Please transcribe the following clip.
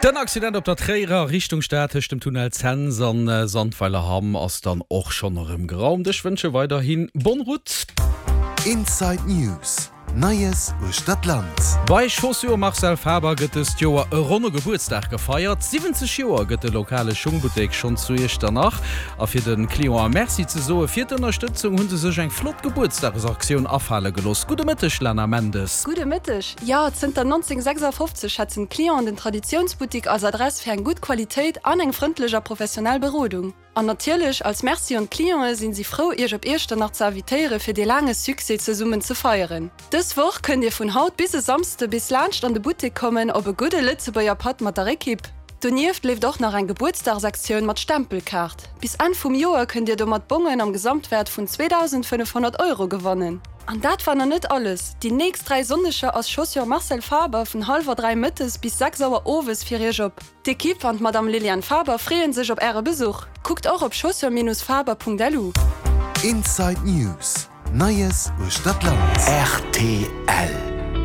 Den Accident op der Tréierer Richtung Stad tëscht dem Tunnel Cents an Sandweiler-Hamm ass dann och schonn erëm geraumt. Ech wënsche weiderhi bonne route. Inside News, Neies uechter d'Land. Bei Chaussures Marcel Faber gëtt dëst Joer e ronne Gebuertsdag gefeiert. 70 Joer gëtt de lokale Schungbuttek schonn zu Iechternach. A fir de Clienten Merci ze soe fir d'Ënnerstëtzung, hu se sech eng flott Gebuertsdagesaktioun afale gelooss. Gudde Mëtteg Lana Mendes. Gudde Mëtteg. Jo, zënter 1956 schätzen d'Clienten den Traditiounsbuttik als Adress fir eng gutt Qualitéit an eng frëndlech a professionell Berodung. An natierlech, als Merci un d'Clienten sinn si frou iech op Iechternach ze invitéiere fir dee laange Succès zesummen ze feieren. Dës Woch kënnt dir vun haut bis e Samsde bis laanscht an de Buttek kommen op e gudde Lëtzebuerger Patt mat der Ekipp. Donieft leeft och nach eng Gebuertsdagsaktioun mat Stempelkaart. Bis Enn vum Joer kënnt dir domat Bongen am Gesamtwäert vun 2.500 Euro gewannen. An dat war nach net alles, Déi nächst 3 Sonneger ass Chaussures Marcel Faber vun hallwer 3 mëttes bis 6 Auer owes fir iech op. D'Equipe an d'Madame Liliane Faber freeën sech op äre Besuch. Kuckt och op chaussures-faber.lu. Inside News, Neies uechter d'Land. Rtl.